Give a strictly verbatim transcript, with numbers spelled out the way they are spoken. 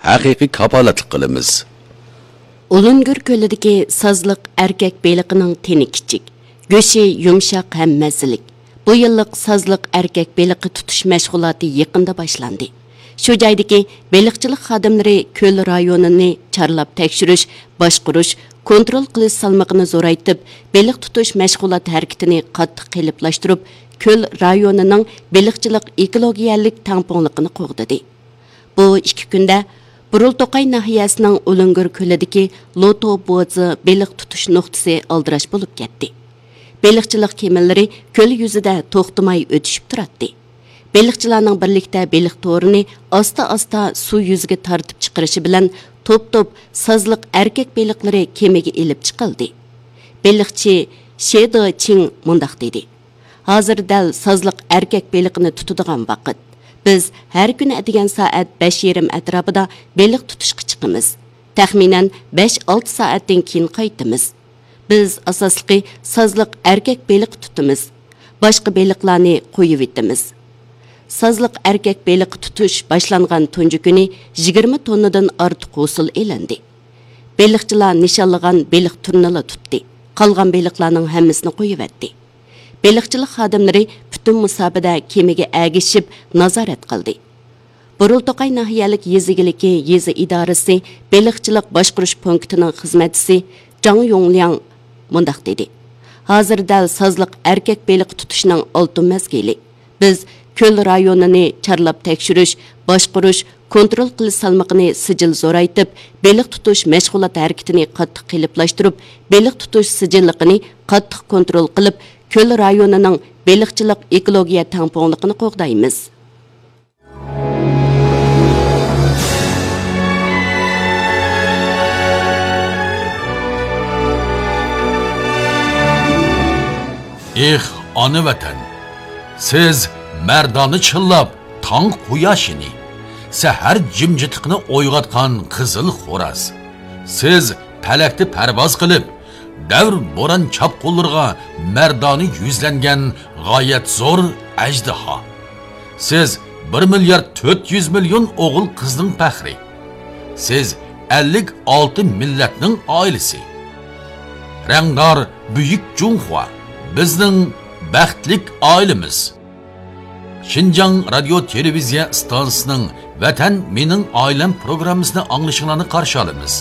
ھەقىقىي كاپالەتلىك قىلىمىز. ئۇلۇنگۈر كۆلىدىكى سازلىق ئەركەك بېلىقىنىڭ تېنى كىچىك، گۆشى يۇمشاق ھەم مەززىلىك. بۇ يىللىق سازلىق ئەركەك بېلىقى تۇتۇش مەشغۇلاتى يېقىندا باشلاندى. شۇ جايدىكى بېلىقچىلىق خادىملىرى كۆل رايونىنى چارلاپ تەكشۈرۈش، باشقۇرۇش، كونترول قىلىش سالمىقىنى زورايتىپ، بېلىق تۇتۇش مەشغۇلات ھەرىكىتىنى قاتتىق قېلىپلاشتۇرۇپ، كۆل رايونىنىڭ بېلىقچىلىق ئېكولوگىيەلىك تەڭپۇڭلۇقىنى قوغدىدى. بۇ ئىككى كۈندە بۇرۇلتوقاي ناھىيەسىنىڭ ئۇلۇنگۈر كۆلىدىكى لوتو بوزى بېلىق تۇتۇش نۇقتىسى ئالدىراش بولۇپ كەتتى. بېلىقچىلىق كېمىلىرى كۆل يۈزىدە توختىماي ئۆتۈشۈپ تۇراتتى. بېلىقچىلارنىڭ بىرلىكتە بېلىق تورىنى ئاستا-ئاستا سۇ يۈزىگە تارتىپ چىقىرىشى بىلەن توپ-توپ سازلىق ئەركەك بېلىقلىرى كېمىگە ئېلىپ چىقىلدى. بېلىقچى شې دې چىڭ مۇنداق دېدى: «ھازىر دەل سازلىق ئەركەك بېلىقىنى تۇتىدىغان ۋاقىت. بىز ھەر كۈنى ئەتىگەن سائەت بەش يېرىم ئەتراپىدا بېلىق تۇتۇشقا چىقىمىز. تەخمىنەن بەش-ئالتە سائەتتىن كېيىن قايتىمىز. بىز ئاساسلىقى سازلىق ئەركەك بېلىقى تۇتىمىز. باشقا بېلىقلارنى قويۇۋېتىمىز.» سازلىق ئەركەك بېلىقى تۇتۇش باشلانغان تۇنجى كۈنى يىگىرمە توننىدىن ئارتۇق ھوسۇل ئېلىندى. بېلىقچىلار نىشانلىغان بېلىق تۈرىنىلا تۇتتى. قالغان بېلىقلارنىڭ ھەممىسىنى قويۇۋەتتى. بېلىقچىلىق خادىملىرى پۈتۈن مۇساپىدە كېمىگە ئەگىشىپ نازارەت قىلدى. بۇرۇلتوقاي ناھىيەلىك يېزا ئىگىلىكى يېزا ئىدارىسى بېلىقچىلىق باشقۇرۇش پونكىتىنىڭ خىزمەتچىسى جاڭ يۇڭلياڭ مۇنداق دېدى: «ھازىر دەل سازلىق ئەركەك بېلىقى تۇتۇشنىڭ ئالتۇن مەزگىلى. بىز كۆل رايونىنى چارلاپ تەكشۈرۈش، باشقۇرۇش، كونترول قىلىش سالمىقىنى سىجىل زورايتىپ، بېلىق تۇتۇش مەشغۇلات ھەرىكىتىنى قاتتىق قېلىپلاشتۇرۇپ، بېلىق تۇتۇش سىجىللىقىنى قاتتىق كونترول قىلىپ، كۆل رايونىنىڭ بېلىقچىلىق ئېكولوگىيە تەڭپۇڭلۇقىنى قوغدايمىز.» ئېھ، ئانا ۋەتەن! سىز مەردانە چىللاپ تاڭ قۇياشىنى، سەھەر جىمجىتلىقىنى ئويغاتقان قىزىل خوراز. سىز پەلەكتە پەرۋاز قىلىپ، دەۋر بوران چاپقۇنلىرىغا مەردانە يۈزلەنگەن غايەت زور ئەجدىھا. سىز بىر مىليارد تۆت يۈز مىليون ئوغۇل قىزنىڭ پەخرى. سىز ئەللىك ئالتە مىللەتنىڭ ئائىلىسى. رەڭدار بۈيۈك جۇڭخۇا، بىزنىڭ بەختلىك ئائىلىمىز. شىنجاڭ رادىيو تېلېۋىزىيە ئىستانسىسىنىڭ ۋەتەن مېنىڭ ئائىلەم پروگراممىسىنى ئاڭلىشىڭلارنى قارشى ئالىمىز.